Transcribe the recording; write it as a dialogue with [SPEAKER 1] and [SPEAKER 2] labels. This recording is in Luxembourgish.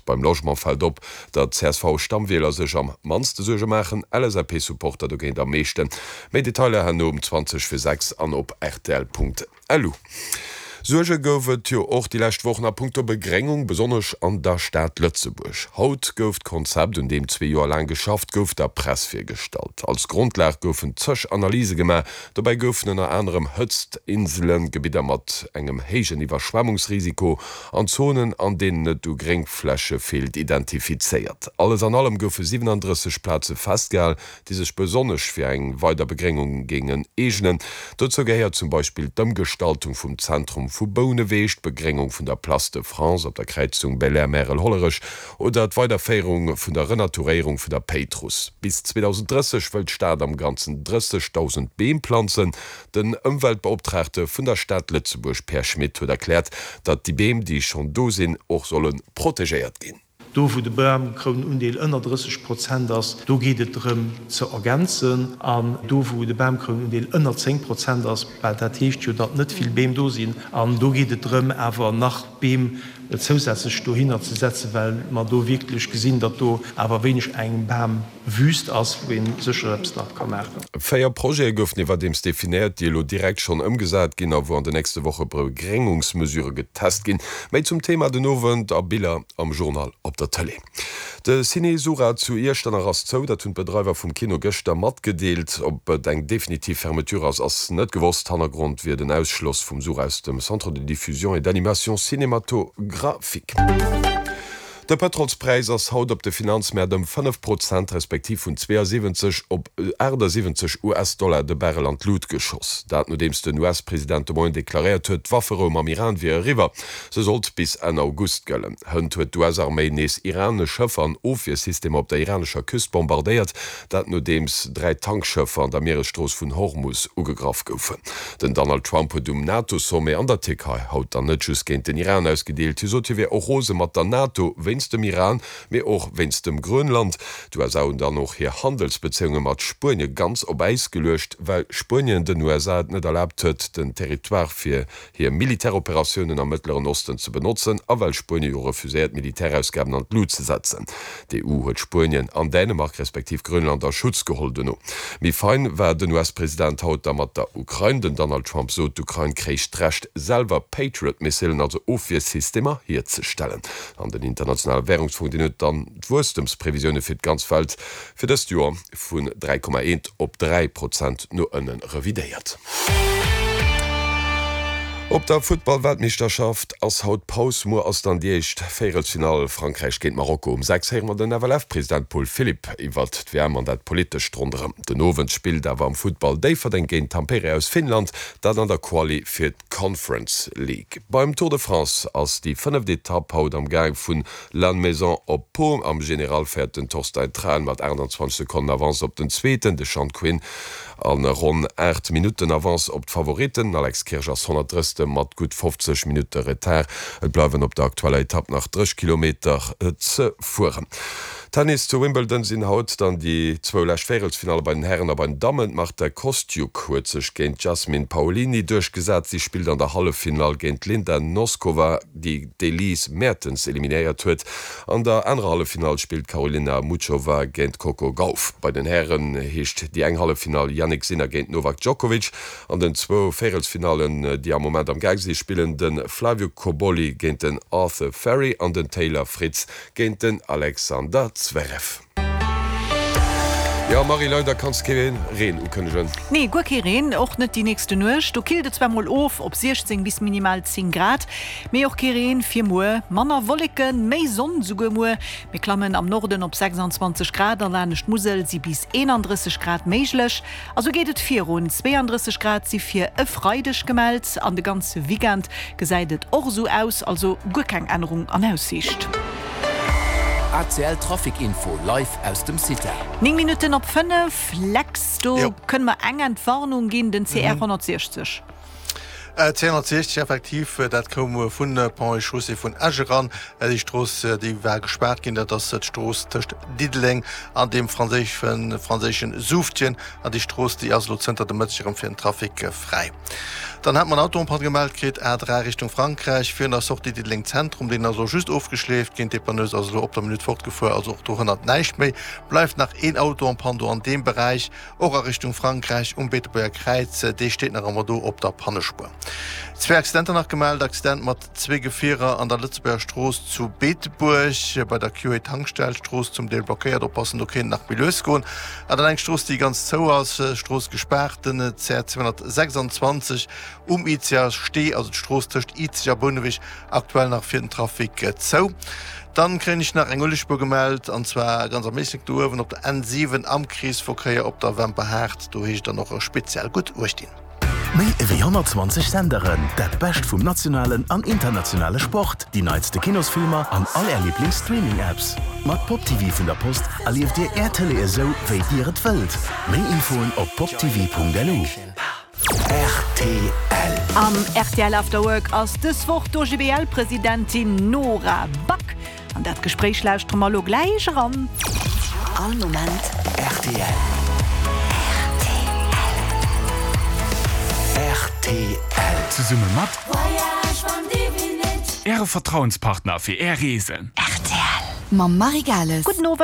[SPEAKER 1] Beim Logement fält op, datt CSV-Stammwieler sech am mannste Suerge maachen, LSAP-Supporter dogéint am meeschten. Méi Detailer herno um 20 fir 6 an op rtl.lu. Suerge gouf et jo och déi lescht Wochen a punkto Begréngung, besonnesch an der Stad Lëtzebuerg. Haut gouf d'Konzept, un deem zwee Joer laang geschafft gouf, der Press virgestallt. Als Grondlag goufen zeg Analyse gemaach, Dobäi goufen ënner anerem Hëtztinselen, Gebidder mat engem héijen Iwwerschwemmungsrisiko an Zonen, an deenen et u Gréngfläche feelt, identifizéiert. Alles an allem goufe 37 Plaze festgehal, déi sech besonnesch fir eng weider Begréngung géingen eegnen. Dozou gehéiert zum Beispill d'Ëmgestaltung vum Zentrum vu Bouneweg, d'Begréngung vun der Place de France op der Kräizung Belair-Märel-Hollerech Oder d'Weiderféierung vun der Renaturéierung vun der Péitruss. Bis 2030 wëll d'Stad am Ganzen 30.000 Beem planzen. Den Ëmweltbeoptraagte vun der Stad Lëtzebuerg, Pierre Schmit, huet erkläert, datt déi Beem, déi schonn do sinn, och solle protegéiert ginn.
[SPEAKER 2] Do wou de Bamkrounundeel ënner 30 Prozent ass, do geet et drëm ze ergänzen. An do wou de Bamkrounundeel ënner 10 Prozent ass, well dat heescht jo, datt net vill Beem do sinn, an do geet et drëm awer nach Beem zousätzlech dohinner ze setzen, well mer do wierklech gesinn, datt do awer wéineg eng Bamwüst ass, wou ee sécher eppes nach ka maachen.
[SPEAKER 1] Véier Projete goufen iwwerdeems definéiert, déi elo direkt schonn ëmgesat ginn a wou an de nächste Woche Begréngungsmesurë getest ginn. Méi zum Thema den Owend a Biller am Journal op der Tëlee. De Ciné Sura zu Iechternach ass zou, dat hunn d'Bedreiwer vum Kino gëschter matgedeelt. Ob et eng definitiv Fermeture ass, ass net gewosst. Hannergrond wier den Ausschloss vum Sura aus dem Centre de diffusion et d'animation cinématographique. De Pëtrolspräis ass haut op de Finanzmäert ëm 5 Prozent, respektiv vun 72 op 78 US-Dollar de Barrel an d'Lut geschoss. Dat nodeems den US-President de Moien deklaréiert huet, d'Wafferou mam Iran wier eriwwer. Se sollt bis Enn August gëllen. Hënt huet d'US-Arméi nees iranesch Schëffer an Ofwiersystemer op der iranescher Küst bombardéiert, dat nodeems 3 Tankschëffer an der Mieresstrooss vun Hormus ugegraff goufen. Den Donald Trump huet um NATO-Sommet an der Tierkei haut dann net just géint den Iran ausgedeelt. Hie sot, hie wier och rose mat der NATO wéinst dem Iran, mee och wéinst dem Grönland. D'USA hunn dann och hir Handelsbezéiunge mat Spuenie ganz op Äis geluecht, well Spuenien den USA et net erlaabt huet, den Territoire fir hir Militäroperatiounen am Mëttleren Osten ze benotzen a well Spuenie jo refuséiert Militärausgaben an d'Lut ze setzen. D'EU huet Spuenien an Dänemark respektiv Grönland a Schutz geholl dono. Méi fein war den US-President haut da mat der Ukrain. Den Donald Trump sot, d'Ukrain kréich d'Recht selwer Patriot-Missilen, also Ofwiersystemer, hierzestellen. An den Internationale Wärungsfong, deen huet dann d'Wuesstemsprevisioune fir d'ganz Welt fir dëst Joer vun 3,1 op 3 Prozent no ënne revidéiert. Op der Futtball-Weltmeeschterschaft ass haut Paus. Muer ass dann déi éischt Véierelsfinall, Frankräich géint Marokko. Um 6 héiere mer den FLF-President Paul Philipp iwwert d'WM an dat Politescht ronderëm. Den Owend spillt awer am Futtball Déifferdeng géint Tampere aus Finnland, dat an der Quali fir d'Conference League. Beim Tour de France ass déi fënneft Etapp haut am Gaang vun Lannemezan op Pau. Am General féiert den Torstein Traen mat 28 Sekonnen Avance op den Zweeten, de Sean Quinn, a ronn 8 Minutten Avance op d'Favoritten. Den Alex Kirsch ass 130. Mat gutt 50 Minutte Retard. Et bleiwen op der aktueller Etapp nach 30 Kilometer ze fueren. Tennis, Zu Wimbledon sinn haut dann déi zwou lescht Véierelsfinalle bei den Hären a bei den Dammen. D'Marta Kostyuk huet sech géint d'Jasmine Paolini duerchgesat. Si spillt an der Halleffinall géint d'Linda Noskova. déi d'Elise Mertens eliminéiert huet. An der anerer Halleffinall spillt d'Karolina Muchova géint d'Coco Gauff. Bei den Hären heescht déi eng Halleffinall Jannik Sinner géint Novak Djokovic. An den zwou Véierelsfinallen, déi am Moment am Gaang si, spillen de Flavio Cobolli géint den Arthur Fery an den Taylor Fritz géint den Alexander Zverev. Jo Marie, leider kanns de kee Reen ukënnegen.
[SPEAKER 3] Nee, guer kee Reen, och net déi nächste Nuecht. Do killt et zwar mol of op 16 bis minimal 10 Grad, mee och kee Reen fir muer. Manner Wolleken, méi Sonn souguer muer. Mir klammen am Norden op 26 Grad a laanescht d'Musel si bis 31 Grad méiglech. A sou geet et virun, 32 Grad si fir e Freideg gemellt an de ganze Weekend gesäit et och esou aus, also guer keng Ännerung an Aussiicht.
[SPEAKER 4] ACL Trafic Info live aus dem CITA.
[SPEAKER 3] 9 Minutten op 5, Lex, do kënne mer eng Entwarnung ginn, den CR 160.
[SPEAKER 5] 260 effektiv, dat koum vun Ponts et Chaussées vun Esch eran. Déi Strooss, déi war gespaart ginn, dat ass d'Strooss tëscht Diddeleng an deem franséischen Soufftjen. An déi Strooss, déi ass elo zënter de Mëtteg erëm fir den Trafic fräi. Dann hat mer en Auto en panne gemellt kritt, A3 Richtung Frankräich, virun der Sortie Diddeleng Zentrum. Deen ass elo just ofgeschleeft ginn. D'Depanneuse ass elo op der Minutt fortgefuer, also och do hënnert näischt méi. Bleift nach een Auto en panne do an deem Beräich. Och a Richtung Frankräich um Beetebuerger Kräiz, dee steet nach ëmmer do op der Pannespuer. Zwee Accidenter nach gemellt, Accident mat zwee Gefierer an der Lëtzebuerger Strooss zu Beetebuerg bei der QA Tankstell, Strooss zum Deel blockéiert, oppassen, do kéint et nach méi lues goen. An dann eng Strooss déi ganz zou ass, Strooss gespaart, den CR 226 um Izeger Stee, also d'Strooss tëscht Izeg a Bouneweg, Aktuell nach fir den Trafic zou. Dann kréien ech nach eng Uelegspuer gemellt, an zwar ganz am Éislek do uewen op der N7 am Kreesverkéier op der Wemperhaart. Do heescht et dann och speziell gutt Uecht dinn.
[SPEAKER 6] Méi ewéi 120 Senderen, dat Bescht vum nationalen an internationale Sport, déi neitste Kinosfilmer an all Är Liiblings-Streaming-Apps. Mat Pop TV vun der Post erlieft Dir Är Tëlee esou, wéi Dir et wëllt. Méi Infoen op poptv.lu.
[SPEAKER 3] Rtl. Am rtl After Work ass dës Woch d'OGBL-Presidentin Nora Back. An dat Gespréich lauschtere mer elo gläich eran.
[SPEAKER 6] All Moment rtl. Rtl.
[SPEAKER 7] Zesumme mat Äre Vertrauenspartner fir Är Reesen.
[SPEAKER 8] Rtl mam Marie Gales.
[SPEAKER 3] Gudden Owend.